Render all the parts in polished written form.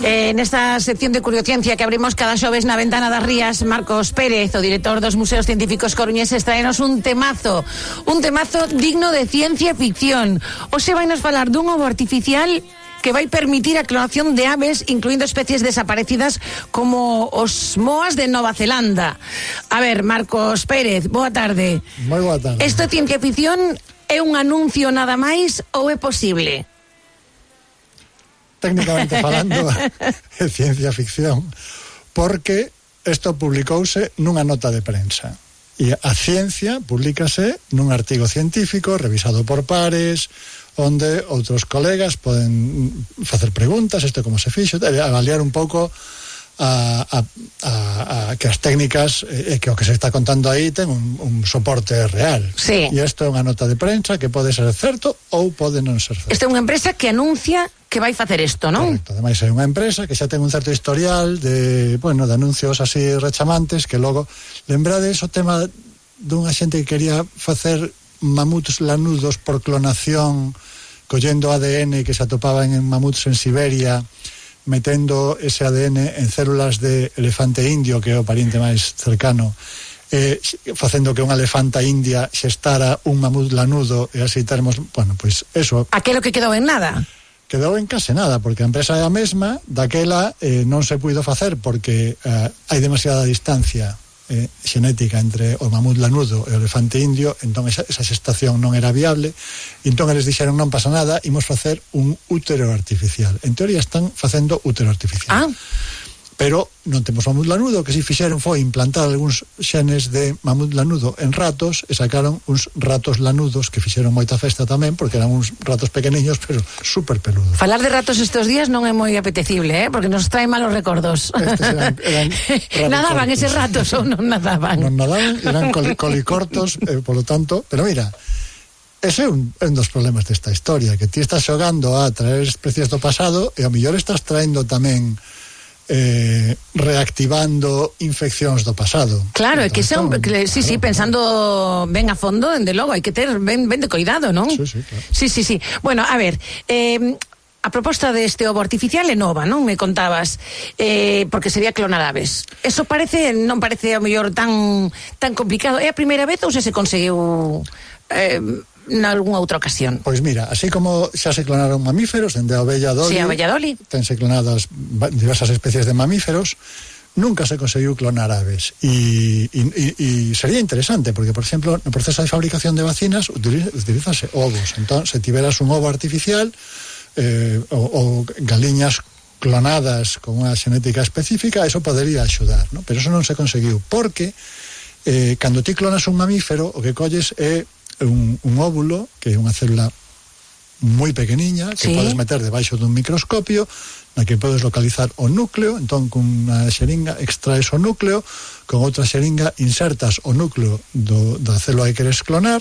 Nesta sección de Curiociencia que abrimos cada xoves na Ventana das Rías, Marcos Pérez, o director dos Museos Científicos coruñeses, traenos un temazo digno de ciencia ficción. Hoxe vai nos falar dun ovo artificial que vai permitir a clonación de aves, incluindo especies desaparecidas como os moas de Nova Zelanda. A ver, Marcos Pérez, boa tarde. Moi boa tarde. Isto é ciencia ficción, é un anuncio nada máis ou é posible? Técnicamente falando, é ciencia ficción, porque isto publicouse nunha nota de prensa. E a ciencia publicase nun artigo científico revisado por pares, onde outros colegas poden facer preguntas, isto como se fixo, avaliar un pouco que as técnicas e que o que se está contando aí ten un soporte real. Sí. E isto é unha nota de prensa que pode ser certo ou pode non ser certo. Esta é unha empresa que anuncia que vai facer isto, non? Correcto, ademais é unha empresa que xa ten un certo historial de anuncios así rechamantes, que logo, lembrades o tema dunha xente que quería facer mamuts lanudos por clonación, collendo ADN que se atopaban en mamuts en Siberia, metendo ese ADN en células de elefante indio, que é o pariente máis cercano, facendo que unha elefanta india xestara un mamut lanudo, e así termos, pois eso. Aquelo que quedou en nada. Quedou en case nada, porque a empresa é a mesma, daquela non se puido facer porque hai demasiada distancia xenética entre o mamut lanudo e o elefante indio, entón esa xestación non era viable, e entón eles dixeron non pasa nada, imos facer un útero artificial. En teoría están facendo útero artificial. Pero non temos mamut lanudo, que si fixeron foi implantar algúns xenes de mamut lanudo en ratos, e sacaron uns ratos lanudos que fixeron moita festa tamén, porque eran uns ratos pequeniños, pero super peludos. Falar de ratos estes días non é moi apetecible, porque nos trae malos recordos. Estes eran nadaban eses ratos ou non nadaban? Non nadaban, eran colicortos, polo tanto, pero mira, ese é un dos problemas desta historia, que ti estás xogando a traer especies do pasado e ao mellor estás traendo tamén reactivando infeccións do pasado. Claro, é que son, sí, pensando ben a fondo, dende logo, hai que ter ben de cuidado, non? Sí, claro. Sí. Bueno, a ver, a proposta deste ovo artificial é nova, non? Me contabas, porque sería clonar aves. Eso non parece ao mellor tan complicado. É a primeira vez ou se conseguiu nalgúnha outra ocasión? Pois mira, así como xa se clonaron mamíferos, dende a ovella Dolly, sí, a ovella Dolly, tense clonadas diversas especies de mamíferos, nunca se conseguiu clonar aves. E sería interesante, porque, por exemplo, no proceso de fabricación de vacinas utilízase ovos. Entón, se tiveras un ovo artificial ou galiñas clonadas con unha xenética específica, eso podería axudar, ¿no? Pero eso non se conseguiu, porque cando ti clonas un mamífero, o que colles é un óvulo, que é unha célula moi pequeniña, que podes meter debaixo dun microscopio, na que podes localizar o núcleo. Entón, con unha xeringa extraes o núcleo, con outra xeringa insertas o núcleo da célula que queres clonar,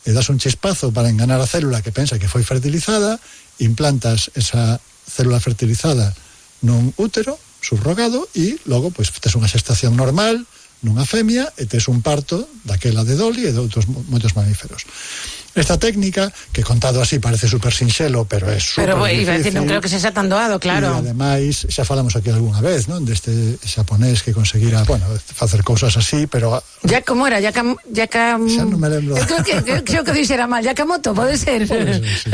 e das un chispazo para enganar a célula que pensa que foi fertilizada, implantas esa célula fertilizada nun útero subrogado, e logo pois tes unha xestación normal nunha femia e tes un parto daquela de Dolly e de outros moitos mamíferos. Esta técnica, que contado así parece super sinxelo, pero é super difícil. Non creo que sexa tan doado, claro. E ademais, xa falamos aquí algunha vez, non? Deste xaponés que conseguira, facer cousas así, pero... Como era? Xa non me lembro. Creo que dixera mal, Yakamoto, pode ser? Pode ser, sí.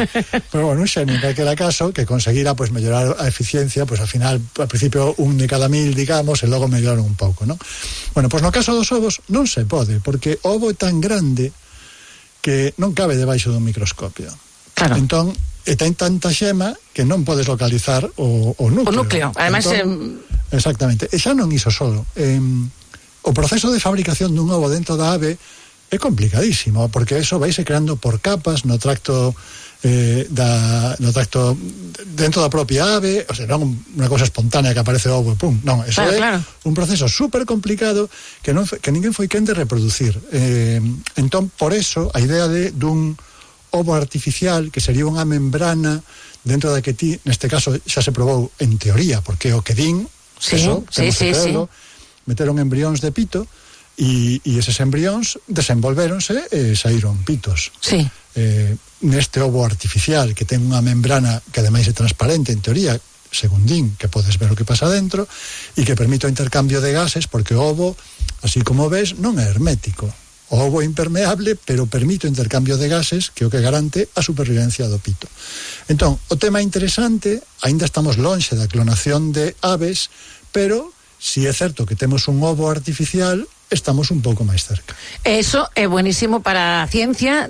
Pero bueno, un xenio, en calquera caso, que conseguira mellorar a eficiencia, al final, al principio un de cada 1000, digamos, e logo melloraron un pouco, non? Bueno, no caso dos ovos non se pode, porque o ovo é tan grande que non cabe debaixo dun microscopio. Claro. Entón, ten tanta xema que non podes localizar o núcleo. O núcleo, además... Exactamente. E xa non iso solo. O proceso de fabricación dun ovo dentro da ave é complicadísimo, porque eso vaise creando por capas no tracto dentro da propia ave, o sea, non unha cosa espontánea que aparece o ovo e pum, non, eso é un proceso super complicado que ninguén foi quen de reproducir. Entón, por eso, a idea dun ovo artificial, que sería unha membrana dentro da que ti, neste caso, xa se probou en teoría, porque o que din, meteron embrións de pito, e eses embrións desenvolvéronse e saíron pitos. Neste ovo artificial, que ten unha membrana que ademais é transparente, en teoría, según din, que podes ver o que pasa dentro, e que permite o intercambio de gases, porque o ovo, así como ves, non é hermético. O ovo é impermeable, pero permite o intercambio de gases, que é o que garante a supervivencia do pito. Entón, o tema interesante, aínda estamos lonxe da clonación de aves, pero si é certo que temos un ovo artificial, estamos un pouco máis cerca. Eso é buenísimo para a ciencia.